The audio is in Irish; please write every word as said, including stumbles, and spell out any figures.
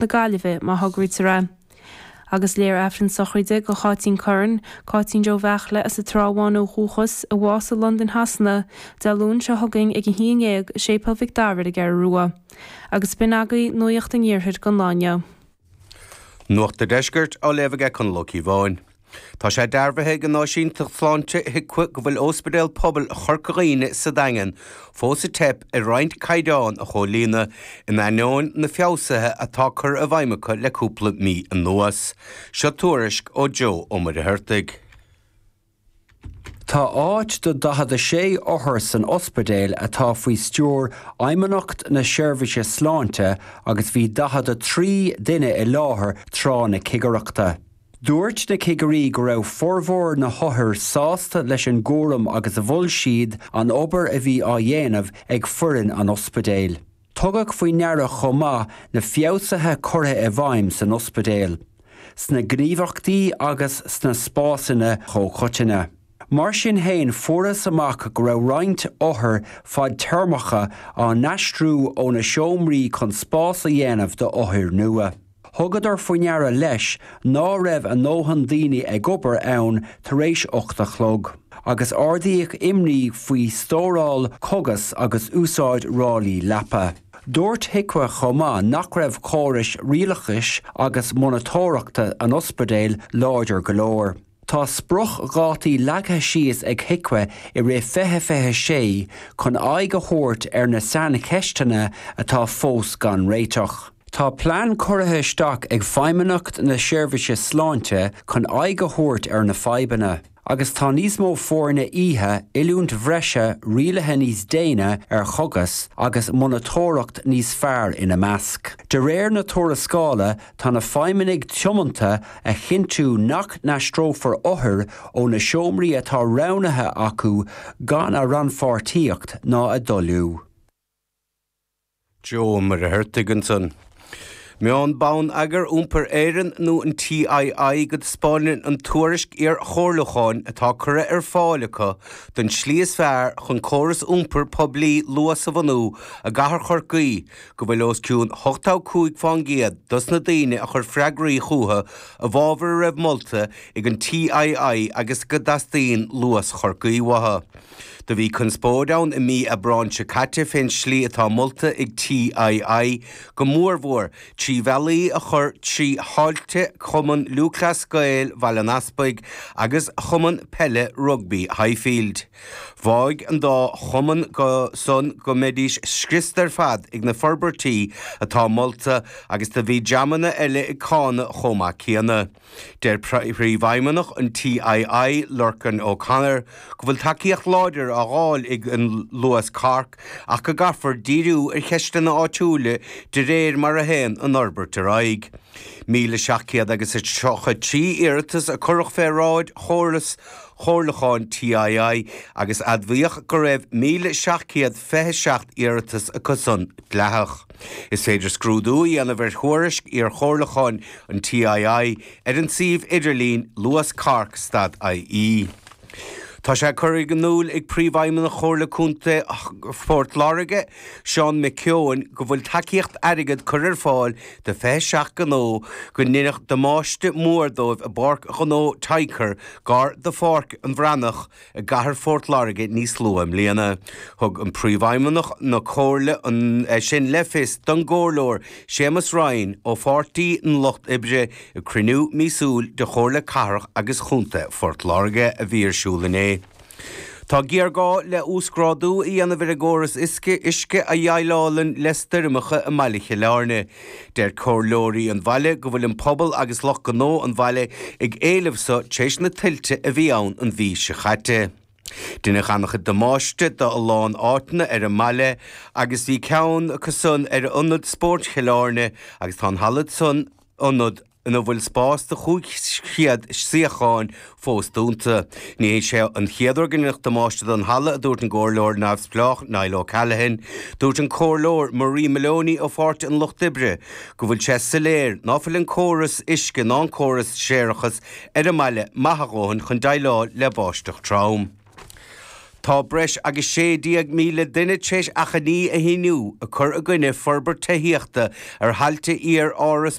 na Gaillimhe má thograítear é. Agus léifear Aifreann sochraide do Cháitín Curran, Cáitín Joe Bheachle as an Trá Bháin ó dhúchas a bhásaigh i Londain Shasana, Dé Luain seo chugainn ag a haon déag i Séipéal Mhic Dara ar an gCeathrú Rua. Agus b'in agaibh nuacht an iarthair don lá inniu. Nuacht an Deiscirt á léamh aige Conall Ó Cíobháin. Tá sé dearbhaithe ag an Áisínteacht Sláinte HIQA go bhfuil Ospidéal Pobail Chorca Dhuibhne sa Daingean fós ag teip ar roinnt caighdeán a chomhlíonadh in ainneoin na feabhsuithe atá curtha i bhfeidhm acu le cúpla mí anuas. Seo tuairisc ó Joe Ó Muircheartaigh. Tá áit do daichead a sé othar san ospidéal atá faoi stiúir Fheidhmeannacht na Seirbhíse Sláinte agus bhí daichead a trí duine i láthair tráth na cigireachta. Dúirt na cigirí go raibh formhór na n-othar sásta leis an gcúram agus mhol siad an obair a bhí á dhéanamh ag foireann an ospidéil. Tugadh faoi ndeara chomh maith na feabhsuithe curtha i bhfeidhm san ospidéal, sna gníomhaíochtaí agus sna spásanna comhchoiteanna. Mar sin féin fuarthas amach go raibh roinnt othar fadtéarmacha á n-aistriú ó na seomraí chun spás a dhéanamh d'othair nua. Thugadar faoi ndeara leis ná raibh a ndóthain daoine ag obair ann tar éis ocht a chlog, agus ardaíodh imní faoi stóráil cógas agus úsáid ráillí leapa. Dúirt HIQA chomh maith nach raibh córais rialachais agus monatóireachta an ospidéil láidir go leor. Tá spriocdhátaí leagtha síos ag HIQA i rith fiche fiche sé chun aghaidh a thabhairt ar na saincheisteanna atá fós gan réiteach. Tá plean curtha isteach ag Feidhmeannacht na Seirbhíse Sláinte chun aghaidh a thabhairt ar na fadhbanna, agus tá níos mó foirne oíche, oiliúint bhreise, rialuithe níos déine ar chógais agus monatóireacht níos fearr ina measc. De réir na tuarascála tá na feidhmeannaigh tiomanta a chinntiú nach n-aistreofar othair ó na seomraí atá roghnaithe acu gan a rannpháirtíocht ná a dtoiliú. Joe Ó Muircheartaigh ansan. Maíonn Bonneagar Iompair Éireann nó an TII go dtaispeánann an tuairisc iar-chomhairliúcháin atá curtha ar fáil acu don slí is fearr chun córas iompair poiblí Luas a bhunú i gcathair Chorcaí go bhfuil os cionn ochtó cúig faoin gcéad dos na daoine a chuir freagraí chucu i bhfabhar a raibh molta ag an TII agus go dteastaíonn Luas Chorcaí uathu. Do bhí conspóid ann i mí Aibreáin seo caite fén slí atá molta ag TII go mórmhór trí bhealaí a chur trí thailte Chumann Lúthchleas Gael Bhaile an Easpaig agus Chumann Peile Rugbaí Highfield. Mhaígh an dá chumann go san go mbeidís scriosta ar fad ag na forbairtí atá molta agus do bhí dreamanna eile ag cáineadh chomh maith céanna. Deir Príomhfheidhmeannach an TII, Lorcan O'Connor, go bhfuil tacaíocht láidir á fháil ag an Luas Cork ach go gcaithfear díriú ar cheisteanna áitiúla de réir mar a théann an fhorbairt ar aghaidh. Míle seacht gcéad agus a tríocha trí iarratas a cuireadh fé bhráid chóras chomhairliúcháin TII agus admhaíodh go raibh míle seacht gcéad fiche seacht iarratas acu san dleathach. Is féidir scrúdú a dhéanamh ar thuairisc iar-chomhairliúcháin an TII ar an suíomh idirlín luascork stad IE. Tá sé curtha in iúl ag Príomhfheidhmeannach Chomhairle Contae Phort Láirge, Seán McKeown, go bhfuil tacaíocht airgid curtha ar fáil do fiche seacht gnó go ndeineadh damáiste mór dóibh i bPáirc Ghnó Tynker gar do Pháirc an Bhreathnach i gcathair Phort Láirge níos luaithe i mbliana. Thug an Príomhfheidhmeannach na Comhairle an sin le fios don gComhairleoir Séamus Ryan ó Pháirtí an Lucht Oibre ag cruinniú míosúil de Chomhairle Cathrach agus Chontae Phort Láirge a bhí ar siúl inné. Tá géarghá le uasghrádú a dhéanamh ar an gcóras uisce uisce a dhéileálann le stoirmeacha i mbaile Chill Airne. Deir comhairleoirí an bhaile go bhfuil an pobal agus lucht gnó an bhaile ag éileamh so tar éis na tuilte a bhí ann an mhí seo caite. Deineadh an-chuid damáiste do a lán áiteanna ar an mbaile agus bhí ceann acu san ar ionad spóirt Chill Airne agus tá an halla san ionad ina bhfuil spás do chúig chéad suíochán fós dúnta. Ní hé sé an chéad uair go ndeineadh damáiste don halla, a dúirt an gcomhairleoir neamhspleách Niall O'Callaghan. Dúirt an comhairleoir Marie Maloney ó Pháirtí an Lucht Oibre go bhfuil sé soiléir ná fuil an córas uisce ná an córas séarachais ar an mbaile maith a dhóthain chun déileáil le báisteach trom. Tá breis agus sé déag míle duine tar éis achainí a shíniú ag cur i gcoinne forbairt tithíochta ar thailte iar-Áras